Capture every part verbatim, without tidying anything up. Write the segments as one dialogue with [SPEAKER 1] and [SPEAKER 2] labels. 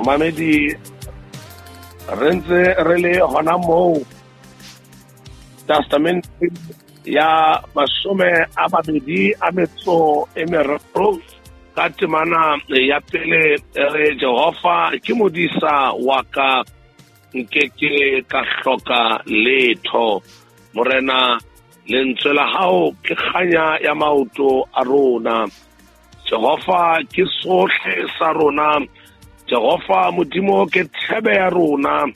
[SPEAKER 1] Mamedi, re ntse re le hona moo Testament ya mashome a mabedi a metso e meraro ka temana ya pele re Jehova ke modisa wa ka, nkeke ka hloka letho. Morena, lentswe la hao ke kganya ya maoto a rona. Jehova ke sohle sa rona. Jehova Modimo ke thebe ya rona.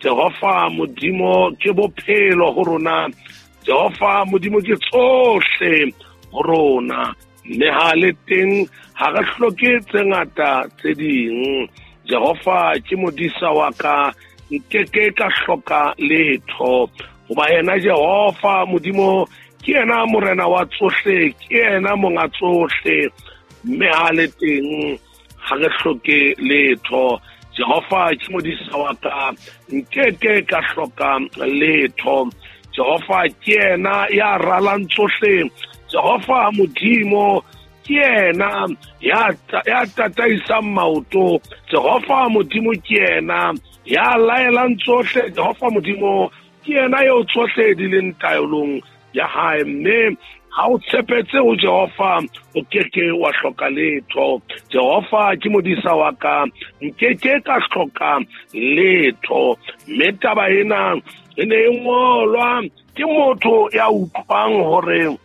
[SPEAKER 1] Jehova Modimo ke bophelo ho rona. Jehova Modimo ke tsohle ho rona. Mme ha le teng ha re hloke tse ngata tse ding. Jehova ke modisa wa ka, nkeke ka hloka letho. Hoba yena Jehova Modimo ke yena morena wa tsohle, ke yena monga tsohle. Mme ha le teng ha re hloke letho. Jehova ke modisa wa ka, nkeke ka hloka letho. Jehova ke yena ya ralang tsohle. Jehova Modimo ke yena ya ya tataisang maoto. Jehova Modimo ke yena ya laelang tsohle. Jehova Modimo ke yena eo tsohle di leng taelong ya hae. Mme ha o tshepetse ho Jehova, o keke wa hloka letho. Jehova ke modisa wa ka, nkeke ka hloka letho. Mme taba ena e ne e ngolwa ke motho ya utlwang hore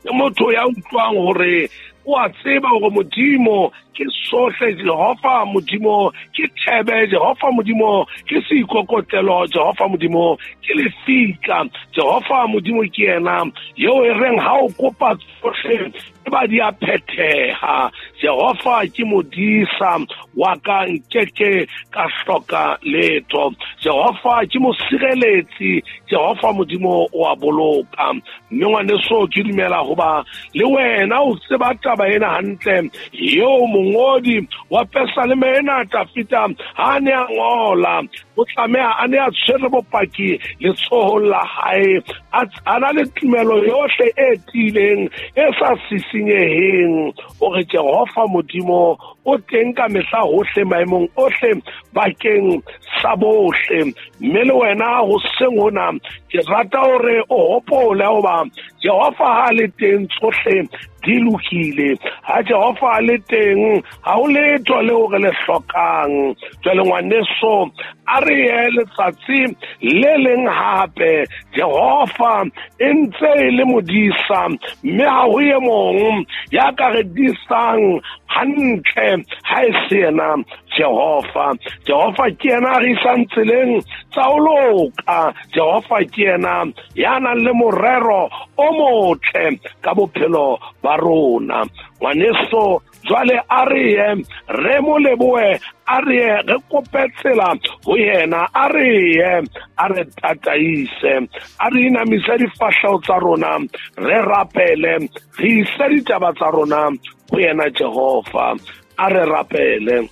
[SPEAKER 1] ke motho ya utlwang hore o a tseba hore Modimo ke sohle. Jehova Modimo ke thebe, Jehova Modimo ke seikokotlelo, Jehova Modimo ke lefika. Jehova Modimo ke yena eo e reng ha o kopa tsohle e ba di a phetheha. Jehova ke modisa wa ka, nkeke ka hloka letho. Jehova ke mosireletsi, Jehova Modimo o a boloka. Mme ngwaneso, ke dumela hoba le wena o tseba taba ena hantle eo mongodi wa Pesaleme ena Tafita ha ne a ngola, o tlameha a ne a tshwere bopaki letsohong la hae, a na le tumelo yohle e tiileng e sa sisinyeheng hore Jehova Modimo o teng ka mehla hohle maemong ohle bakeng sa bohle. Mme le wena hoseng hona ke rata hore o hopole hoba Jehova ha le teng tsohle di lokile. Ha Jehova le teng ha ho letho leo re le hlokang. Jwale ngwaneso, a re ye letsatsi le leng hape. Jehova e ntse e le modisa, mme ha ho e mong ya ka re disang hantle ha e se yena Jehova. Jehova ke yena a re isang tseleng tsa ho loka. Jehova ke yena ya nang le morero o motle ka bophelo ba rona. Ngwaneso, jwale a re ye re mo lebohe, a re ye re kope tsela ho yena, a re ye a re tataise, a re inamise difahleho tsa rona, re rapele, re ise ditaba tsa rona ho yena Jehova. A re rapele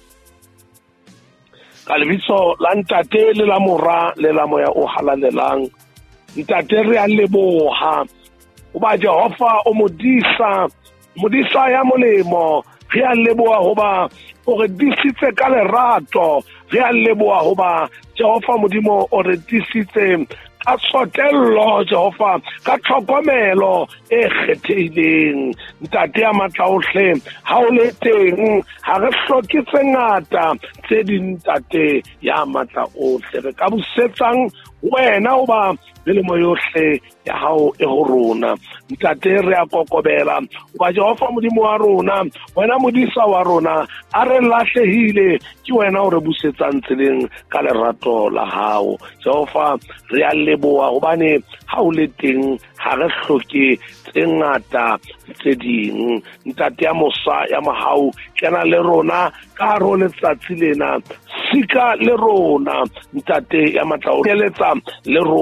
[SPEAKER 1] ka lebitso la Ntate le la Mora le la Moya o Halalelang. Ntate, re a leboha hoba Jehova o modisa, modisa ya molemo. Re a leboha hoba o re disitse ka lerato. Re a leboha hoba Jehova Modimo o re disitse ka tsotello, Jehova, ka tlhokomelo e kgethehileng. Ntate ya matla ohle, ha o le teng ha re hloke tse ngata tse ding. Ntate ya matla ohle, re ka busetsang wena hoba melemo yohle ya hao e ho rona. Ntate, re a kokobela hoba Jehova Modimo wa rona, wena modisa wa rona, a re lahlehile, ke wena o re busetsang tseleng ka lerato la hao. Jehova, re a leboha hobane ha o le teng ha re hloke tse ngata tse ding. Ntate ya mosa ya mohau, kena le rona ka hare ho letsatsi lena, sika le rona. Ntate ya matla o eletsa le rona.